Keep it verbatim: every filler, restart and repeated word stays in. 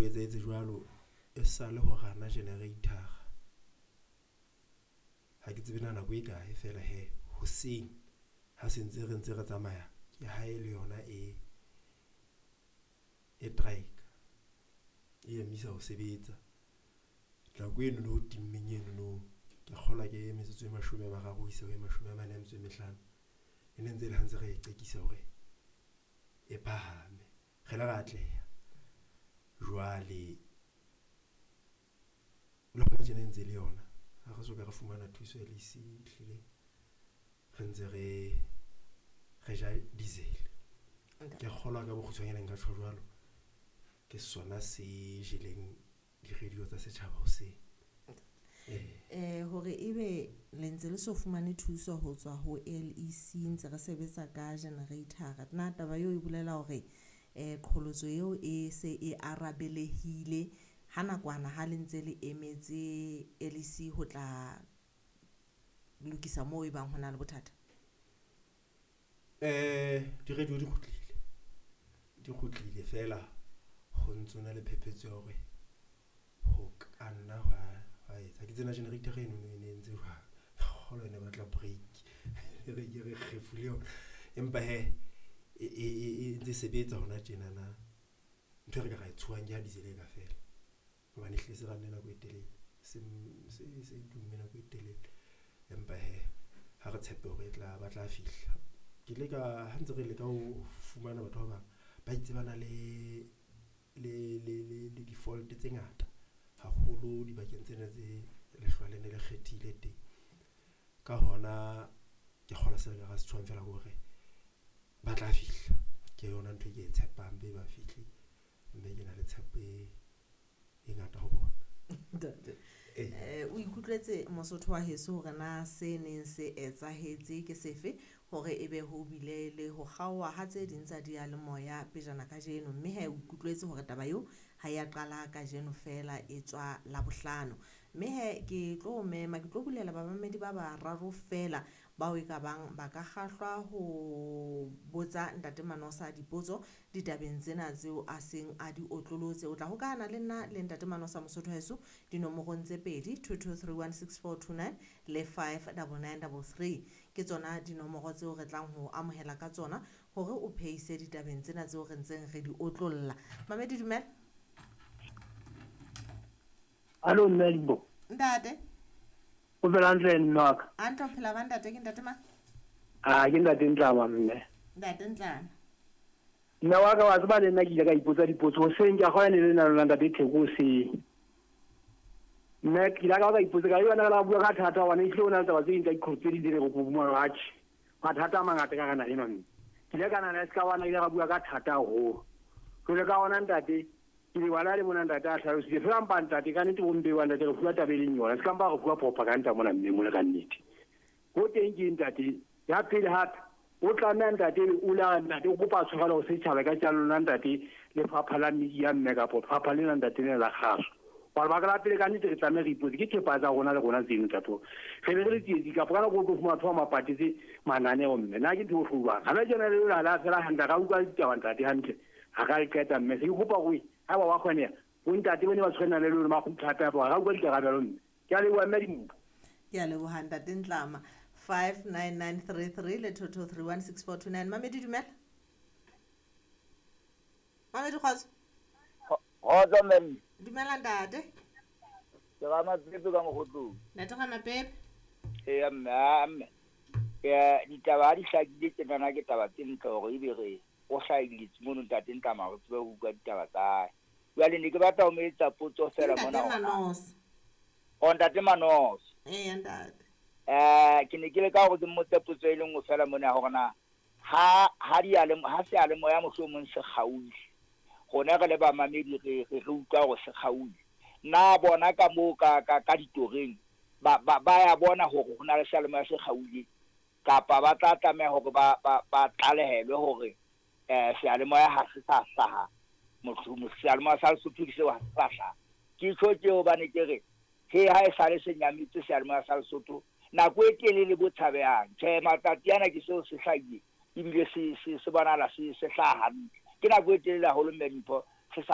etsahetse jwalo e sale ho rana generator. Ha ke tsebe na nako e kae fela he hoseng ha se ntse re ntse re tsamaya ke ha e le yona e e strike e emisa ho sebetsa. Nako eno no timmeng eno no ke kgolwa ke metsotso e mashome a mararo ho isa ho e mashome a mane a metso e mehlano. E ne ntse le ha ntse re e qekisa hore e phahame. Re ile ra atleha. Jwale le hona tjena e ntse le yona. Ha re soka re fumana thuso e le ehlile re ntse re re ja diesel. Ke kgolwa ka bokgutshwanyane nka tjho jwalo. Ke sona se jeleng di-radio tsa setjhaba hoseng. Eh hore ebe le ntse le so fumane thuso ho tswa ho L E C ntse re sebetsa ka generator. Na taba eo e bolela hore eh qholotso eo e se e arabelehile ha nakwana ha le ntse le emetse L E C ho tla lokisa moo e bang ho na le bothata? Eh di-radio di kgutlile. Di kgutlile fela ho ntso na le phephetso ya hore ho ka nna hwa hwa etsa. Ke tsena generator eno e ne entse jwang. Kgolwa e ne batla break. Re ke re kgefule yona. Empa he e e e ntse sebetsa hona tjenana. Ntho e re ka ra e tshohang ke ha diesel e ka fela. Hobane ehlile se ranne nako e telele. Se se se tumme nako e telele. Empa he ha re tshepe hore e tla ba tla fihla. Ke ile ka ha ntse re leka ho fumana batho ba bang ba itse ba na le le le le le di-fault tse ngata haholo dibakeng tsena tse lehlwa le ne le kgethile teng. Ka hona ke kgolwa se re ka ra se tshwang fela ke hore ba tla fihla. Ke yona ntho e ke e tshepang be ba fihle mme ke na le tshepo e e ngata ho bona. Ntate. Eh o ikutlwetse Mosotho wa heso hore na se neng se etsahetse ke sefe hore ebe ho bile le ho kgaoha ha tse ding tsa diyalemoya pejana kajeno, mme he o ikutlwetse hore taba eo ha ya qala kajeno fela e tswa Labohlano. Mme he ke tlo mema, ke tlo bulela bamamedi ba bararo fela bao e ka bang ba ka kgahlwa ho botsa Ntate Manosa dipotso ditabeng tsena tseo a seng a di otlolotse. O tla hokahana le nna le Ntate Manosa Mosotho heso dinomorong tse pedi two two three one six four two nine le five double nine double three. Ke tsona dinomoro tseo re tlang ho amohela ka tsona hore o phehise ditabeng tsena tseo re ntseng re di otlolla. Mamedi, dumela. Hallo, mme Limbo. Ntate. O phela hantle mme wa ka? Hantle, o phela ba ntate, ke ntate mang? Ah, ke ntate Ntlama mme. Ntate Ntlama. Mme wa ka wa tseba le nna ke ile ka ipotsa dipotso hoseng, ke a kgona le nna lona ntate Theko hoseng. Mme ke ile ka ka ipotsa ka yona la bua ka thata hobane ehlile o na le taba tse ding tsa diqholotso tse ding tse re go bua atjhe. Mathata a mangata ka rena ena mme. Ke ile ka nahana e se ka bana ile ka bua ka thata haholo. Jwale ka hona ntate ke le bala le mona ntate a hlalositse fela mpa ntate ka nnete bo mpe wa ntate re fuwa taba e leng yona. Se ka mpa re fuwa propaganda mona mme mona ka nnete. Ho teng ke ntate ya pele hape o tlameha ntate o la ntate o kopa tshwarelo ho setjhaba ka tja lona ntate lefapha la media mme kapa lefapha lena ntate lena la kgaso. Hobane lebaka la pele ka nnete re tlameha re ipotse ke thepa tsa rona le rona tseno ntate. Re be re le tsietsi kapa ka nako o tlo fumana batho ba mapatetse mananeo mme. Nna ke ntho e bohloko jwang. Hana tjena le lona la fela hantle ra utlwa ditaba ntate hantle. Ha ka le qeta mme se ke kopa hore ha ba wa kgoneha bo ntate bone ba tshwanela le lona ba kgutla hape hape ra utlwa dikarabelo mme. Ke a leboha mme Dimpo. Ke a leboha ntate Ntlama. five nine nine three three le two two three one six four two nine. Mamedi, dumela. Mamedi, kgotso. Kgotso mme. Dumela ntate. Ke ga Mapepe ka Mokgotlong. Ntate ga Mapepe. Eya mme, a mme. Ke ditaba ha di hlakile tjenana ke taba tse ntle hore ebe re o hlahiletse mono ntate Ntlama re tsebe ho utlwa ditaba tsa hae. Jwale ne ke batla ho mo etsa potso fela mona. Ntate Manosa. O ntate Manosa. Eya ntate. Eh ke ne ke leka hore ke mmotse potso e le nngwe fela mona hore na ha ha diyale ha seyalemoya mohlomong se kgaohile. Rona re le bamamedi re re utlwa hore se kgaohile. Na bona ka moo ka ka ka ditoreng ba ba ba ya bona hore ho na le seyalemoya se kgaohile kapa ba tla tlameha hore ba ba ba tlalehelwe hore eh seyalemoya ha se sa hlaha. Mohlomong seyalemoya sa Lesotho ke seo ha se sa hlaha. Ke tjho ke hobane ke re he ha e sale se nyametse seyalemoya sa Lesotho nako e telele bo tshabehang. Tjhe, matsatsi ana ke seo se hlahile ebile se se se bonahala se se hlaha hantle. Ke nako e telele haholo mme Dimpho se sa